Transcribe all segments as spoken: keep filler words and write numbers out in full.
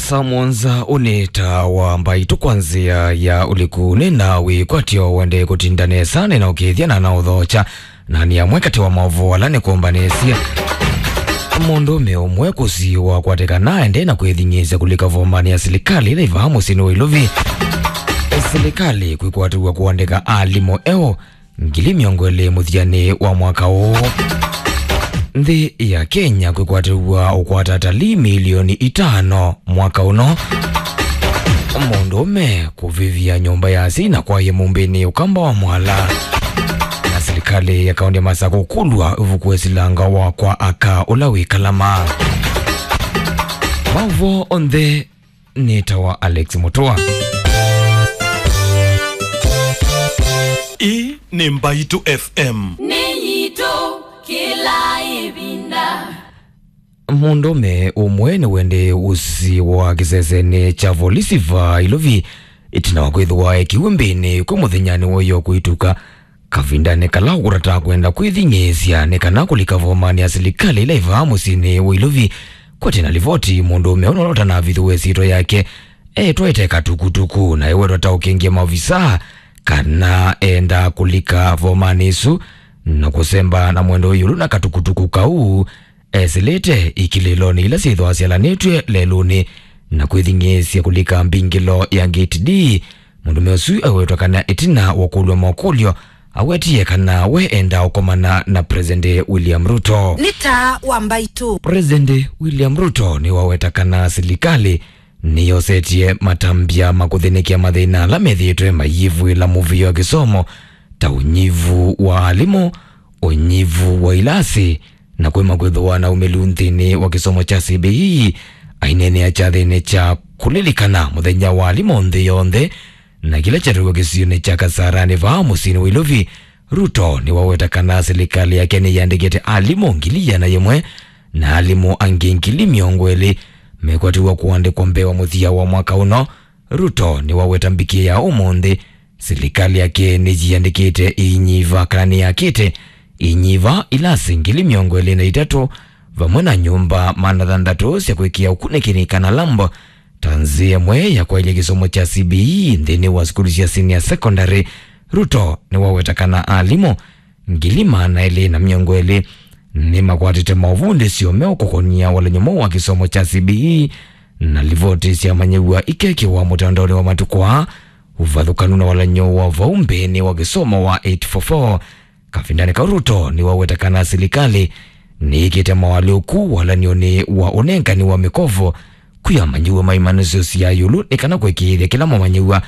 Saa mũonza ũnĩ ta wa mbaitũ kwa nzĩa ya ũliku. Nĩ na wĩkwatyo wende kũtinda nesa, nĩ na ũkĩthya na na ũthokya. Na nĩ amwe katĩ wa maũvoo ala nĩkũmbanĩsye. Mũndũũme ũmwe kũsiwa kwatĩkana aende na kwĩthing'ĩĩsya kũlika vomanĩ ya silikalĩ ĩla ĩvaa mũsyĩnĩ wa Ilovi. Silikalĩ kwĩkwatĩw'a kũandĩka alimũ eũ ngili mĩongo ĩlĩ mũthyanĩ wa mwaka ũũ. Nthĩ ya Kenya kwĩkwatĩw'a ũkwata atalii milioni itano mwaka ũno. Mũndũũme kũvĩvya nyũmba ya asyai na kwaĩa mũmbĩnĩ ũkamba wa mwala. Na silikalĩ ya kaũntĩ ya Masakũ kũlw'a ĩvuku ya silanga wa kwa aka ũla wĩ Kalama. Maũvoo onthe nĩtawa Alex Mũtũa. Ĩĩ nĩ Mbaitũ F M. Nĩ yitũ kĩla ĩvinda. Mũndũũme ũmwe nĩwendee ũsiwa kĩsesenĩ kya volisi va Ilovi ĩtina wa kwĩthĩwa ekiwe mbĩnĩ kwĩ mũthenyanĩ wa ĩyo kũituka. Kavindanĩ kala ũkũtata kwenda kwĩthing'ĩĩsya nĩ kana kũlika vomanĩ ya silikalĩ ĩla ĩvaa mũsyĩnĩ wa Ilovi. Kwatĩ na livoti, mũndũũme ũla ũtanavithũw'a ĩsyĩtwa yake etwaĩte katukutuku na ewetwa ta ũkengĩa maovisaa kana enda kũlika vomanĩ ĩsu na kũsemba na mwendo ĩũlũ na katukutuku kau. Esĩlĩte ikilĩlonĩ ila syĩthĩwa syalanĩtw'e lelũnĩ na kwĩthing'ĩĩsya kũlika mbingĩlo ya Gate D. Mũndũũme ũsu awetwa kana ĩtina wa kũlw'a makũlyo, awetie kana we endaa ũkomana na President William Ruto. Nĩ taa wa Mbaitũ. President William Ruto nĩwaweta kana silikalĩ nĩyosetie matambya ma kũthĩnĩkĩa mathĩna ala methĩĩtwe mayĩvw'ĩla mũvĩa wa kĩsomo, ta ũnyivu wa alimũ, ũnyivu wa ilasi, na kũima kwĩthĩwa na ũmĩlu nthĩnĩ wa kĩsomo kya C B E. Aineenea kyathĩnĩ kya kũlilikana mũthenya wa alimũ nthĩ yonthe, na kĩla kyatw'ĩkwa kĩsionĩ kya Kasarani vaa mũsyĩnĩ wa Ilovi, Ruto nĩwaweta kana silikalĩ yake nĩyĩandĩkĩte alimũ ngili ĩana yĩmwe na alimũ angĩ ngili mĩongo ĩlĩ mekwatĩw'a kũandĩkwa mbee wa mũthya wa mwaka ũno. Ruto nĩwaweta mbikĩ ya ũmũnthĩ silikalĩ yake nĩyĩandĩkĩte inyiva kana nĩyakĩte inyiva, ilasi ngili mĩongo ĩlĩ na itatũ, vamwe na nyũmba maana thanthatũ sya kwĩkĩa ũkunĩkĩli kana lab, ta nzĩa ĩmwe ya kwaĩlya kĩsomo kya C B E nthĩnĩ wa sukulu sya senior secondary. Ruto nĩwaweta kana alimũ ngili maana elĩ na mĩongo ĩlĩ nĩmakwatĩte maũvundĩsyo meũ kũkonia walany'o mwaũ wa kĩsomo kya C B E, na livoti syamanyĩw'a ikeekĩwa mũtandaonĩ wa matukũ aa. Ũvathũkanu na walany'o wa vau mbeenĩ wa kĩsomo wa eight four four. Kavindanĩ kau Ruto nĩwaweta kana silikalĩ nĩĩkĩte moalyũku walany'onĩ wa ũnengani wa mĩkovo kwĩ amanyĩw'a ma imanyĩsyo sya ĩũlũ nĩ kana kũĩkĩĩthya kĩla mũmanyĩw'a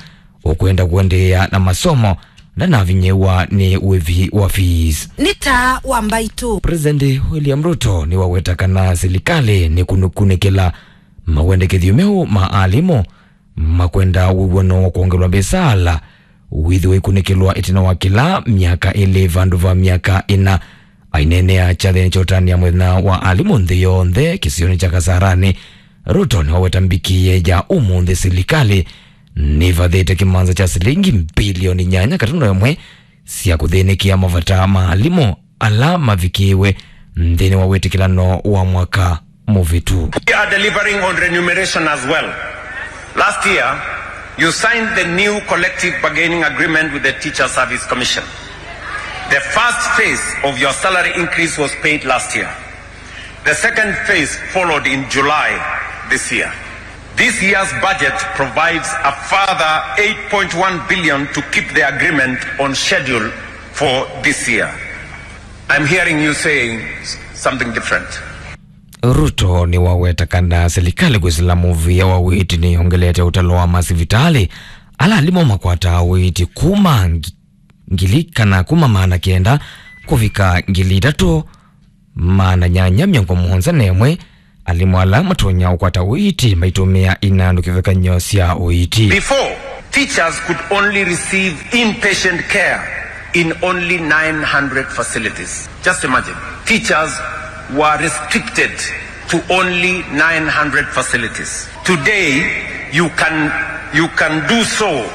ũkwenda kũendeea na masomo ndanavinyĩĩwa nĩ wĩvi wa fees. Nĩ taa wa Mbaitũ. President William Ruto nĩwaweta kana silikalĩ nĩkũnũkunĩkĩla mawendekethyo meũ ma alimũ makwenda wĩw'ano wa kwongelwa mbesa ala wĩthĩwa ikũnĩkĩlwa ĩtina wa kĩla myaka ĩlĩ vandũ va myaka ĩna. Aineenea kyathĩnĩ kya ũtanĩa mũthenya wa alimũ nthĩ yonthe kĩsionĩ kya Kasarani, Ruto nĩwaweta mbikĩe ya ũmũnthĩ silikalĩ nĩvathĩte kĩmanza kya silingi mbilioni nyanya katuno ĩmwe sya kũthĩnĩkĩa mavata ma alimũ ala mavikĩĩwe nthĩnĩ wa wĩtĩkĩlano wa mwaka mũvĩtu. We are delivering on remuneration as well. Last year, you signed the new collective bargaining agreement with the Teachers Service Commission. The first phase of your salary increase was paid last year. The second phase followed in July this year. This year's budget provides a further eight point one billion to keep the agreement on schedule for this year. I'm hearing you saying something different. Ruto nĩwaweta kana silikalĩ kwĩsĩla mũvĩa wa ũiiti nĩyongelete ũtalo wa masivitalĩ ala alimũ makwataa ũiiti kuma ngi-, ngili kana kuma maana kenda kũvika ngili itatũ maana nyanya mĩongo mũonza na ĩmwe. Alimũ ala matonya ũkwata ũiiti maitũmĩa inandũ kĩvathũkany'o sya ũiiti. Before, teachers could only receive inpatient care in only nine hundred facilities. Just imagine. Teachers were restricted to only nine hundred facilities. Today, you can, you can do so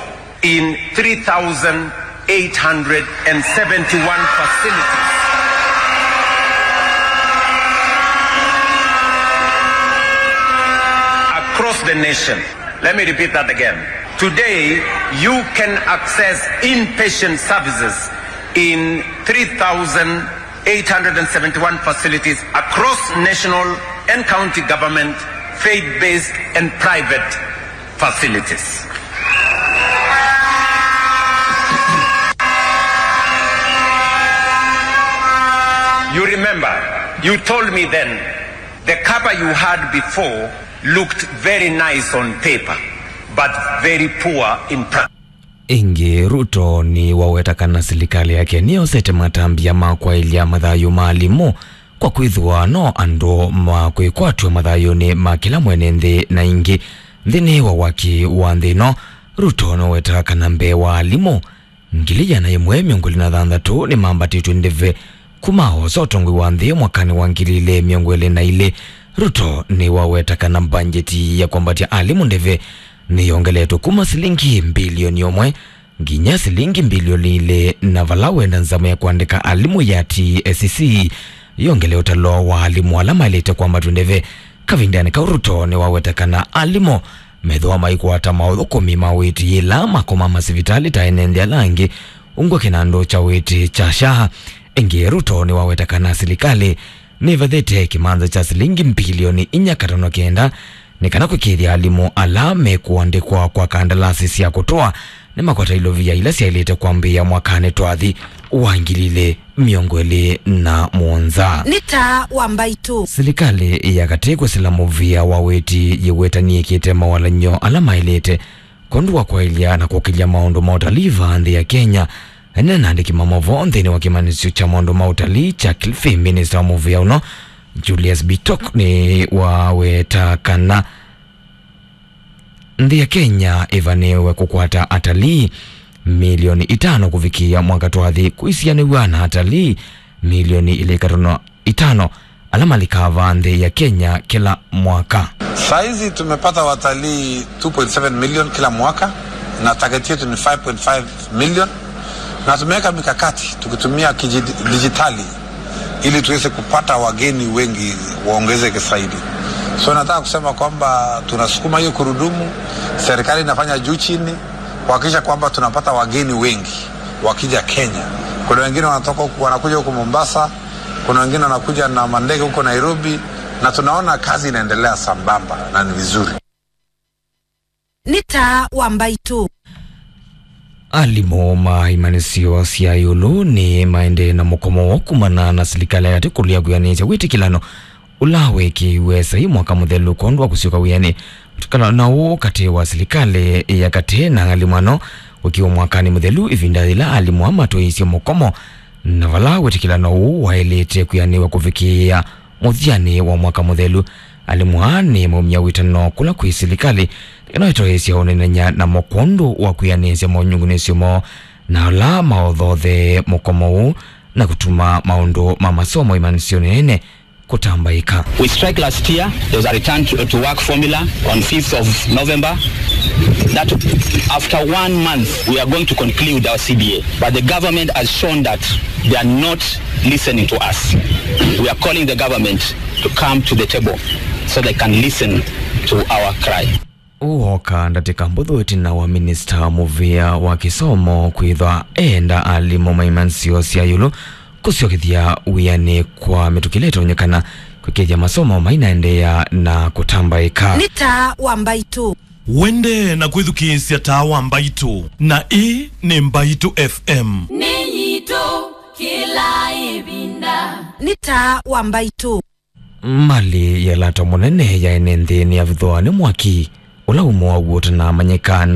in three thousand eight hundred and seventy-one facilities. A across the nation. Let me repeat that again. Today, you can access inpatient services in three thousand eight hundred and seventy-one facilities across national and county government, faith-based and private facilities. You remember, you told me then, the cover you had before looked very nice on paper, but very poor in practice. Ĩngĩ, Ruto nĩwaweta kana silikalĩ yake nĩyosete matambya ma kwaĩlya mathayũ ma alimũ, kwa kwĩthĩwa no andũ ma kwĩkwatw'a mathayũnĩ ma kĩla mwene nthĩ. Na ĩngĩ, nthĩnĩ wa waki wa nthĩ ĩno, Ruto nĩwaweta kana mbee wa alimũ ngili ĩana ĩmwe mĩongo ĩlĩ na thanthatũ nĩmambatĩtw'e ndeve kuma oosa ũtongoi wa nthĩ mwakanĩ wa ngili ilĩ mĩongo ĩlĩ na ilĩ. Ruto nĩwaweta kana mbanjeti ya kwambatya alimũ ndeve nĩyongeletwe kuma silingi mbilioni ũmwe nginya silingi mbilioni ilĩ, na vala wenda nzama ya kũandĩka alimũ ya T S C yongele ũtalo wa alimũ ala maĩlĩte kwambatw'a ndeve. Kavindanĩ kau, Ruto nĩwaweta kana alimũ methĩwa maikwata maũthũkũmi ma ũiiti yĩla makoma masivitalĩ ta ene nthĩ ala angĩ, ungu wa kĩnandũ kya ũiiti kya SHA. Ĩngĩ, Ruto nĩwaweta kana silikalĩ nĩvathĩte kĩmanza kya silingi mbilioni inya katono kenda nĩ kana kwĩkĩĩthya alimũ ala mekũandĩkwa kwa kandalasi sya kũtũa nĩmakwata ilovia ila syaĩlĩte kwambĩĩa mwakanĩ twathi wa ngili ilĩ mĩongo ĩlĩ na mũonza. Nĩ taa wa mbaitũ. Silikalĩ ya katĩ kwĩsĩla mũvĩa wa ũiiti yĩweta nĩyĩkĩte mawalany'o ala maĩlĩte kwondũ wa kwaĩlya na kũkĩlya maũndũ ma ũtalii vaa nthĩ ya Kenya. Ene na andĩki ma maũvoo nthĩnĩ wa kĩmanyĩsyo kya maũndũ ma ũtalii kya Kilifi, minista wa mũvĩa ũno Julius Bitok nĩwaweta kana nthĩ ya Kenya ĩvanĩwe kũkwata atalii milioni itano kũvikĩĩa mwaka twathi, kũisianĩw'a na atalii milioni ilĩ katono itano ala malikaa vaa nthĩ ya Kenya kĩla mwaka. Saizi tumepata watalii two point seven million kila mwaka, na target yetu ni five point five million, na tumeweka mikakati tukitumia kiji-, dijitali ili tuweze kupata wageni wengi waongezeke zaidi. So nataka kusema kwamba tunasukuma hiyo kurudumu, serikali inafanya juu chini kuhakikisha kwamba tunapata wageni wengi wakija Kenya. Kuna wengine wanatoka huku, wanakuja huku Mombasa, kuna wengine wanakuja na mandege huko Nairobi, na tunaona kazi inaendelea sambamba na ni vizuri. Nĩ taa wa mbaitũ. Alimũ ma imanyĩsyo sya ĩũlũ nĩ maendee na mũkomo woo kumana na silikalĩ ya katĩ kũlea kwĩanĩsya wĩtĩkĩlano ũla weekĩiwe saii mwaka mũthelu kwondũ wa kũsyoka wĩanĩ. Wĩtĩkĩlano ũũ katĩ wa silikalĩ ya katĩ na alimũ ano weekiwe mwakanĩ mũthelu, ĩvinda yĩla alimũ aa matwaĩĩsye mũkomo, na vala wĩtĩkĩlano ũũ waĩlĩte kwĩanĩw'a kũvikĩĩa mũthyanĩ wa mwaka mũthelu. Alimũ aa nĩmaumya wĩtano kũla kwĩ silikalĩ nĩ kana ĩtoeesya ũnenany'a namo kwondũ wa kwĩanĩsya monyungunĩsyo moo na ala maothoothee mũkomo ũũ na kũtuma maũndũ ma masomo imanyĩsyonĩ nene kũtambaĩka. We strike last year, there was a return to, to work formula on fifth of November. That after one month, we are going to conclude our C B A. But the government has shown that they are not listening to us. We are calling the government to come to the table so they can listen to our cry. Ũũ wooka ndatĩka mbũthũ ĩtina wa minista mũvĩa wa kĩsomo kwĩthwa eenda alimũ ma imanyĩsyo sya ĩũlũ kũsyokethya wĩanĩ kwa mĩtũkĩle ĩtonyekana kwĩkĩĩthya masomo mainaendeea na kũtambaĩka. Nĩ taa wa mbaitũ. Wendee na kwĩthukĩĩsya taa wa mbaitũ, na ĩĩ nĩ Mbaitũ F M. Nĩ yitũ kĩla ĩvinda. Nĩ taa wa mbaitũ. Malĩ ya lata mũnene ya ene nthĩ nĩyavithwa nĩ mwaki ũla ũmwe waw'o ũtanamanyĩka.